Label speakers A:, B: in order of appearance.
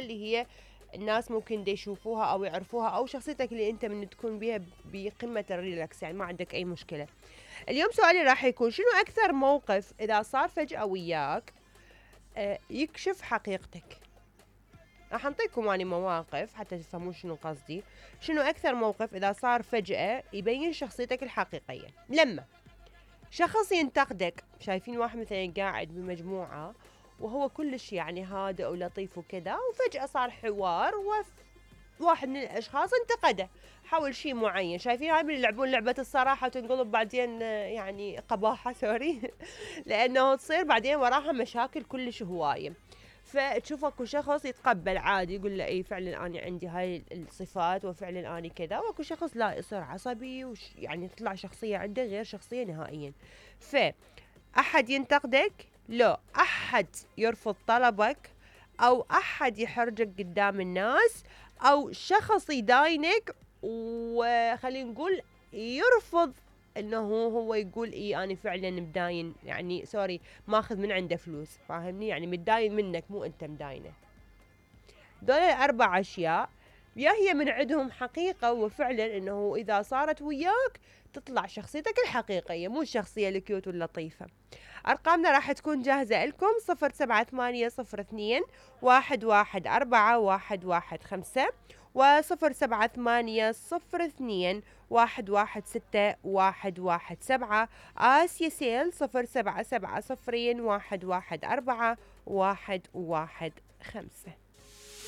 A: اللي هي الناس ممكن دي يشوفوها او يعرفوها، او شخصيتك اللي انت من تكون بيها بقمة الريلاكس، يعني ما عندك اي مشكلة. اليوم سؤالي راح يكون شنو اكثر موقف اذا صار فجأة وياك يكشف حقيقتك؟ راح انطيكم اني مواقف حتى تفهمون شنو قصدي. شنو اكثر موقف اذا صار فجأة يبين شخصيتك الحقيقية؟ لما شخص ينتقدك، شايفين واحد مثلا قاعد بمجموعة وهو كلش يعني هادئ ولطيف وكذا، وفجأة صار حوار وواحد من الاشخاص انتقده حول شيء معين. شايفين هاي من يلعبون لعبة الصراحة وتنقلب بعدين يعني قباحة سوري لانه تصير بعدين وراها مشاكل كلش هواية. فتشوف اكو شخص يتقبل عادي يقول له اي فعلا انا عندي هاي الصفات وفعلا انا كذا، واكو شخص لا يصير عصبي يعني تطلع شخصية عنده غير شخصية نهائيا. فأحد ينتقدك، لا احد يرفض طلبك، او احد يحرجك قدام الناس، او شخص يداينك وخلينا نقول يرفض انه هو يقول اي انا فعلا مداين، يعني سوري ماخذ من عنده فلوس، فاهمني؟ يعني متداين منك مو انت مداينه. دول الاربع اشياء يا هي من عندهم حقيقة وفعلا انه اذا صارت وياك تطلع شخصيتك الحقيقية مو الشخصية الكيوت واللطيفة. ارقامنا راح تكون جاهزة لكم 0780011415 و078002116117. آسيا سيل 077001141115.